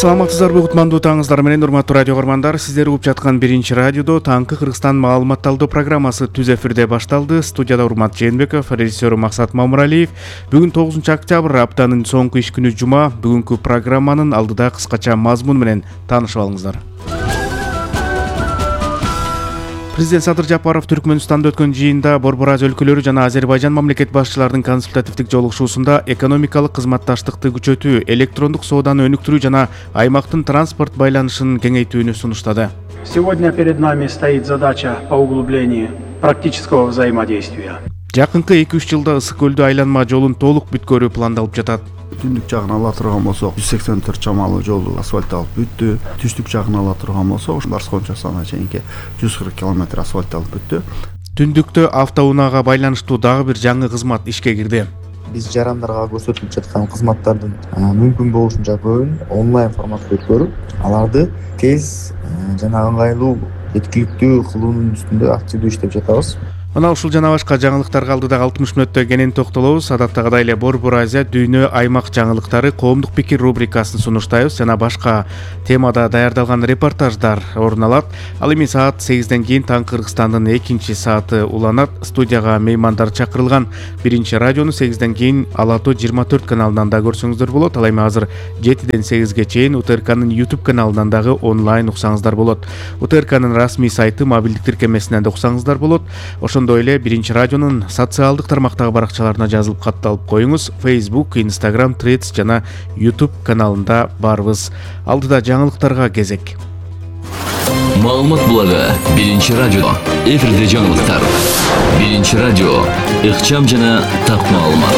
Саламатсыздарбы, кутмандуу таңыңыздар менен урматтуу радио көрмандар. Сиздер угуп жаткан Биринчи радиодо таңкы Кыргызстан маалымат талдоо программасы түз эфирде башталды. Студияда Урмат Жээнбеков, режиссер Максат Мамуралиев. Бүгүн 9 октябрь, аптанын соңку иш күнү жума. Бүгүнкү программанын алдыда кыскача мазмун менен таанышып алыңыздар. Президент Садыр Жапаров Түркмөнстанда өткөн жыйында Борбор Азия өлкөлөрү жана Азербайжан мамлекет башчыларынын консультативдик жолугушуусунда экономикалык кызматташтыкты күчөтүү, электрондук сооданы өнүктүрүү жана аймактын транспорт байланышын кеңейтүүнү сунуштады. Сегодня перед нами стоит задача по углублению практического взаимодействия. Жакынкы 2-3 жылда Ысык көлдү айланма жолун толук бүткөрүү пландалып жатат. Түндүк жагын ала турган болсок 184 чамалуу жолду асфальтталып бүттү. Түштүк жагын ала турган болсок Барскончасына чейинки 140 км асфальтталып бүттү. Түндүктө автоунаага байланыштуу дагы бир жаңы кызмат ишке кирди. Биз жарандарга көрсөтүлүп жаткан кызматтардын мүмкүн болушунча көбүн онлайн форматта өткөрүп, аларды тез жана ыңгайлуу, жеткиликтүү кылуунун үстүндө активдүү иштеп жатабыз. Мына ушул жана башка жаңылыктарга алдыдагы 60 мүнөттө кенен токтолобуз. Адаттагыдай эле Борбор Азия дүйнө аймак жаңылыктары, коомдук пикир рубрикасын сунуштайбыз жана башка темада даярдалган репортаждар орун алат. Ал эми саат 8ден кийин таң Кыргызстандын экинчи сааты уланат. Студияга меймандар чакырылган. Биринчи радиону 8ден кийин Ала Тоо 24 каналынан да көрсөңүздөр болот. Ал эми азыр 7ден 8ге чейин УТРКнын YouTube каналынан дагы онлайн уксаңыздар болот. УТРКнын расмий сайты, мобилдик тиркемесинен да уксаңыздар болот. Ошондой эле Биринчи радионун социалдык тармактагы баракчаларына жазылып катталып коюңуз. Facebook, Instagram, Threads жана YouTube каналында барбыз. Алдыда жаңылыктарга кезек. Маалымат булагы Биринчи радио. Эфирде жаңылыктар. Биринчи радио. Ыкчам жана так маалымат.